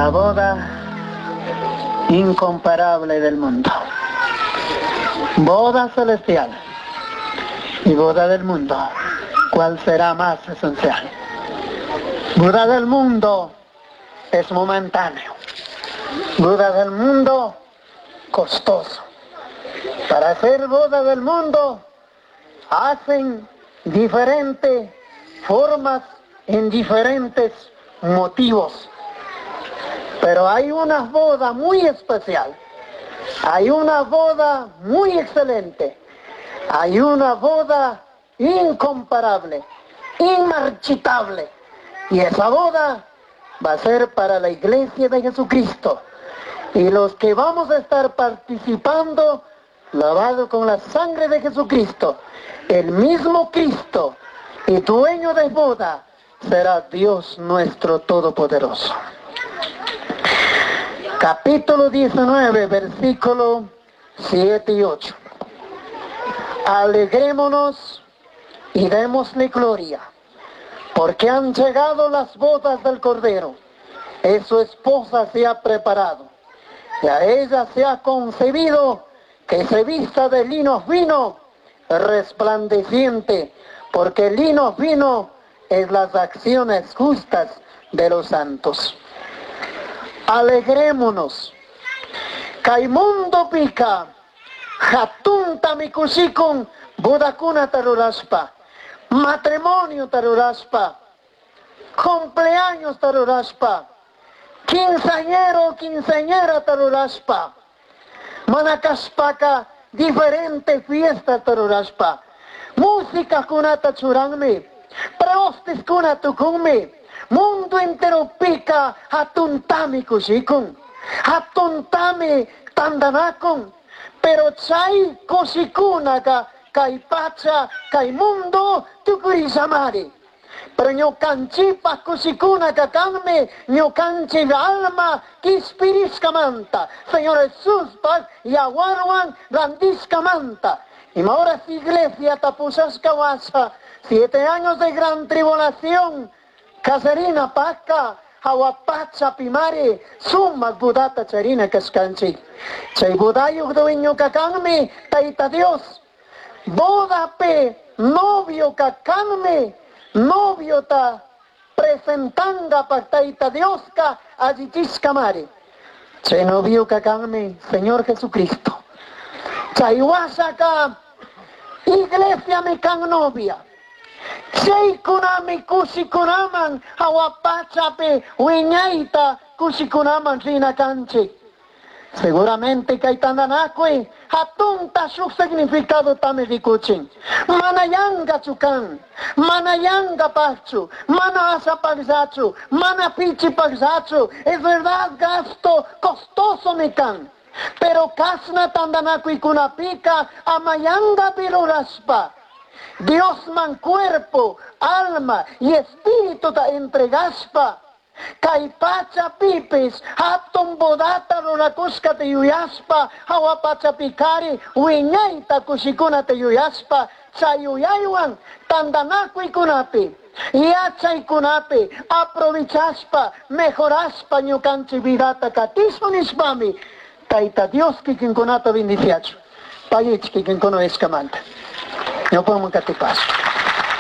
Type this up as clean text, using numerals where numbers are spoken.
La boda incomparable del mundo. Boda celestial y boda del mundo. ¿Cuál será más esencial? Boda del mundo es momentáneo. Boda del mundo costoso. Para hacer boda del mundo hacen diferentes formas en diferentes motivos. Pero hay una boda muy especial, hay una boda muy excelente, hay una boda incomparable, inmarchitable. Y esa boda va a ser para la iglesia de Jesucristo. Y los que vamos a estar participando, lavado con la sangre de Jesucristo, el mismo Cristo y dueño de boda, será Dios nuestro Todopoderoso. Capítulo 19, versículo 7 y 8. Alegrémonos y démosle gloria, porque han llegado las bodas del Cordero, y su esposa se ha preparado, y a ella se ha concebido que se vista de lino fino, resplandeciente, porque el lino fino es las acciones justas de los santos. Alegrémonos. Cai mundopica, jatuntami cushicun bodacunata rurashpa, matrimonio rurashpa, cumpleaños rurashpa, quinceañero, quinceañera rurashpa, mana cashpaca diferente fiesta rurashpa, musicacunata churanmi, preostiscuna tucunmi, mundo entero pica jatuntami cushicun, jatuntami tandanacun, pero chay cushicunaca cai pacha, cai mundo tucurillamari. Pero ñukanchikpak kushikunaka kanmi ñukanchik alma quishpirishkamanta, Señor Jesuspak yawarwan randishkamanta. Ima horas iglesiata pushashka washa, 7 años de gran tribulación, kallarinapajka, jahua pachapimari, sumak bodata charina kashkanchik. Chay bodayuj dueñoka kanmi, Tayta Dios. Bodapi novioka kanmi, noviota presentangapaj Tayta Dioska allichishkamari. Chay novioka kanmi, Señor Jesucristo. Chay washaka iglesiami kan novia. Chaykunami kushikunaman jahua pachapi wiñayta kushikunaman rina kanchik. Seguramente kay tandanakuy hatunta shuk significado tami rikuchin. Mana yangachu kan, mana yangapajchu, mana ashapajllachu, mana pichipajllachu. Es verdad gasto costoso mi kan. Pero kashna tandanakuykunapika ama yangapi rurashpa. Diosman cuerpo, alma y espíritu ta entregashpa. Kay pachapipis, hatun bodata rurakushkata yuyashpa, jahua pachapikari, wiñayta kushikunata yuyashpa, chay yuyaywan tandanakuykunapi, yachaykunapi, aprovechashpa, mejorashpa ñukanchik vidata katishun nishpami, Tayta Dios kikinkunata bendiciachun. Payichik kikinkuna ishkamanta. Ñawpaman katipashun.